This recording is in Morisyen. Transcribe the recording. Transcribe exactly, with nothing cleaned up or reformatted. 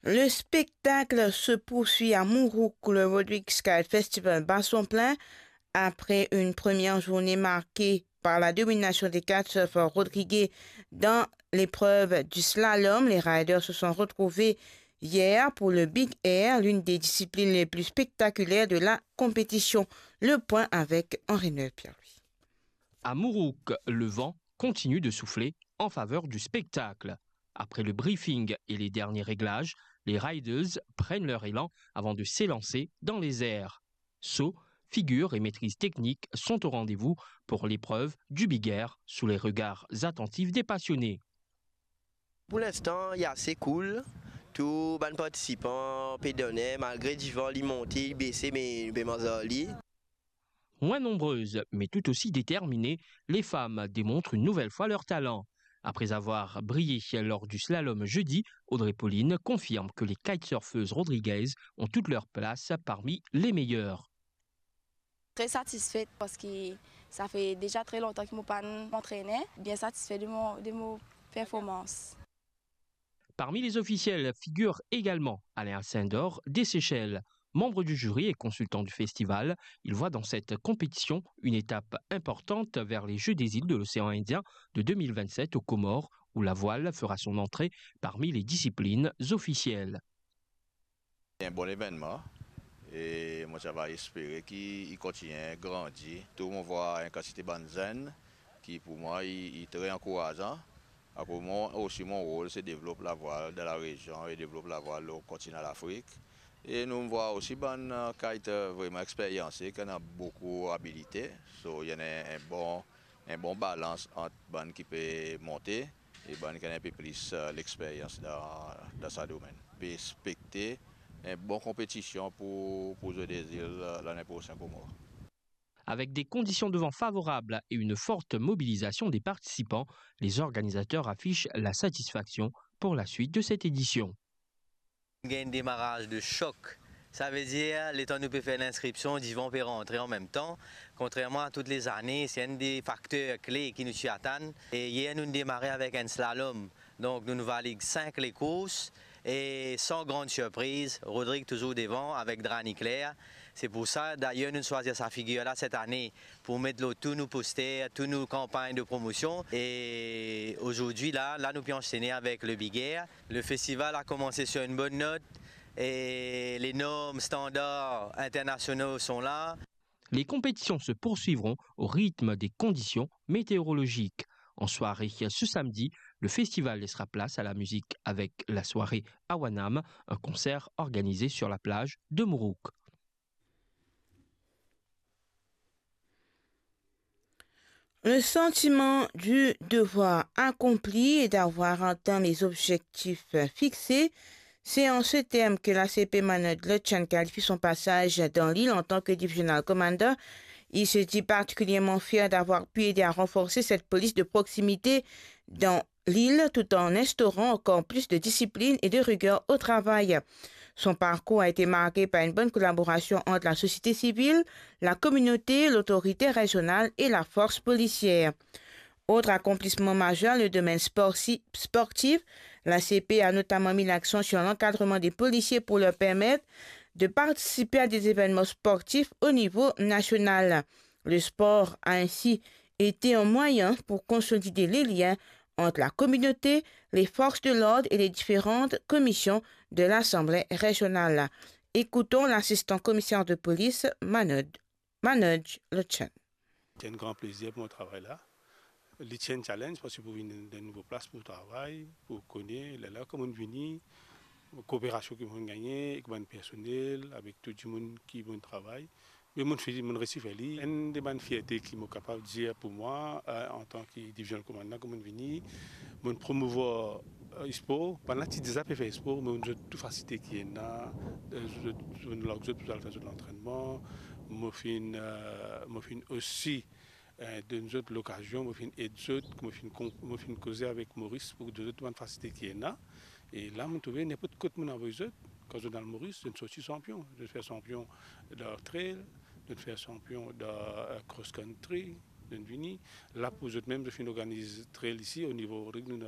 Le spectacle se poursuit à Mourouk. Le Rodrigues Kite Festival bat son plein. Après une première journée marquée par la domination des kitesurfers rodriguais dans l'épreuve du slalom, les riders se sont retrouvés hier pour le Big Air, l'une des disciplines les plus spectaculaires de la compétition. Le point avec Henri-Noël Pierre-Louis. À Mourouk, le vent continue de souffler en faveur du spectacle. Après le briefing et les derniers réglages, les riders prennent leur élan avant de s'élancer dans les airs. Saut, figure et maîtrise technique sont au rendez-vous pour l'épreuve du Big Air sous les regards attentifs des passionnés. Pou linstan, li ase cool. Tou bann partisipan pe done, malgre divan li monte, li bese, me nou pe manz ar li. Moins nombreuses, mais tout aussi déterminées, les femmes démontrent une nouvelle fois leur talent. Après avoir brillé lors du slalom jeudi, Audrey Pauline confirme que les kitesurfeuses rodriguaises ont toute leur place parmi les meilleures. Très satisfaite parce que ça fait déjà très longtemps que mo pa'nn antrene. Bien satisfait de mon, de mon performance. Parmi les officiels figure également Alain Ascindor des Seychelles. Membre du jury et consultant du festival, il voit dans cette compétition une étape importante vers les Jeux des îles de l'océan Indien de deux mille vingt-sept aux Comores, où la voile fera son entrée parmi les disciplines officielles. Un bon événement, e mo ti ava espere ki li kontigne grandi. Tou mo vwar enn kantite bann zenn ki pou mwa li, li tre ankourazan. Akoz mwa osi, mo rol se devlop lavwal dan larezion e devlop lavwal lor kontinan Lafrik. E nou vwar osi bann, eh, kite, eh, vreman experyanse, ki ena boukou abilite. So, li ena enn bon, enn bon balans ant bann ki pe monte e bann ki ena enn pe plis, eh, lexperyans dan, dan sa domenn. Pe espekte enn bon konpetision pou, pou Jeux des îles, eh, lane prosenn Komor. Avec des conditions de vent favorables et une forte mobilisation des participants, les organisateurs affichent la satisfaction pour la suite de cette édition. Gagn demaraz de sok. Savedir, letan nou pe fer linskripsion, divan pe rantre anmemtan. Kontrerman a tout lezane, se enn de fakter kle ki nou ti atann. E yer, nou demare avek enn slalom. Donk, nou, nou valig sink lekours e, san gran sirpriz, Rodrig touzour devan avek dra nikler. Se pou sa, dayer, nou swazir sa figir la set ane pou met lor tou nou poster, tou nou kanpagn de promosion. E azordi la, la nou pe ansene avek le Big Air. Le festival a komanse sur une bonne note e les normes standards internationaux sont là. Les compétitions se poursuivront au rythme des conditions météorologiques. En soirée ce samedi, le festival laissera place à la musique avec la soirée Awanam, un concert organisé sur la plage de Mourouk. Le sentiment du devoir accompli et d'avoir atteint les objectifs fixés, c'est en ces termes que l'A C P Manoj Lutchen qualifie son passage dans l'île en tant que Divisional Commander. Il se dit particulièrement fier d'avoir pu aider à renforcer cette police de proximité dans l'île tout en instaurant encore plus de discipline et de rigueur au travail. Son parcours a été marqué par une bonne collaboration entre la société civile, la communauté, l'autorité régionale et la force policière. Autre accomplissement majeur, le domaine sporti-, sportif. L'A C P a notamment mis l'accent sur l'encadrement des policiers pour leur permettre de participer à des événements sportifs au niveau national. Le sport a ainsi été un moyen pour consolider les liens entre la communauté, les forces de l'ordre et les différentes commissions de l'Assemblée régionale. Écoutons l'assistant commissaire de police, Manoj, Manoj Lutchen. C'est un grand plaisir pour mon travail là. Li ti enn challenge, parski pou vinn dan enn nouvo plas pou travay, pou kone, lerla kouma vini, kooperasion ki mo gagne ek bann personel, avek tou dimoun ki mo travay. Me mo fini, mo resi fer li. Enn de bann fierte ki mo kapav dir pou mwa, eh, antan ki division komandman, kouma vini, mo promouvwar, eh, spor. Bann la ti deza pe fer spor, me mo zot tou fasilite ki ena, eh, zot, mo larg zot pou al fer zot lantrennman. Mo finn, eh, mo finn osi eh, donn zot lokazion, mo finn ed zot, mo finn kon-, mo finn koze avek Moris pou donn zot bann fasilite ki ena. E la, mo trouve ninport kot mo avoy zot, kan zot al Moris, zot sorti sanpion. Zot fer sanpion dan trail, zot fer sanpion dan, eh, cross country, zot vini. La pou zot mem, zot finn organiz trail isi, o nivo Rodrig, nou